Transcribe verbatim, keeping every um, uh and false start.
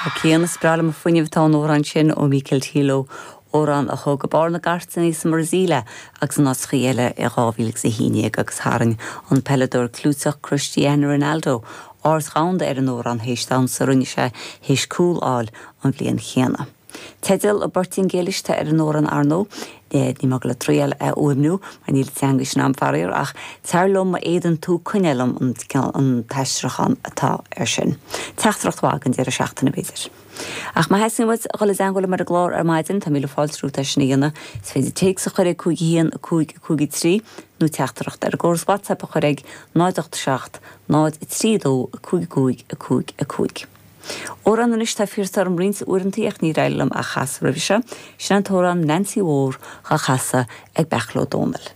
Cian is breá liom an fuinneamh atá san amhrán sin ó Michael Tilo amhrán a thug barr na gcairteanna sa mBrasaíl agus in áiteacha eile i dhá mhíle agus a haon déag agus tharraing an peileadóir clúiteach Cristiano Ronaldo aird dhomhanda ar an amhrán théis damhsa a rinne sé théis cúl a fháil an bhliain chéanna. Teideal i bPortaingéilis atá ar an amhrán ar ndóigh, níl mé ag dul a thriail é a fhuaimniú mar níl an teanga sin agam faraor ach tar liom má fhéadann tú coinneáil liom an t-aistriúchán atá air sin. Teachtaireacht mhaith don deireadh seachtaine b'fhéidir. Ach má theastaíonn uait a dhul i dteagmháil liom ar an gclár ar maidin tá míle fáilte romhat é sin a dhéanamh, is féidir téacs a chur ag cúig a haon a cúig a cúig a trí nó teachtaireacht ar an gcóras WhatsApp a chur ag náid ocht seacht náid a trí dó a cúig a cúig a cúig a cúig. Amhrán anois atá iarrtha orm roinnt uaireanta ach níor éirigh liom a chasadh roimhe seo, sin an t-amhrán Nancy Mhór á chasadh ag Beairtle Ó Dónaill.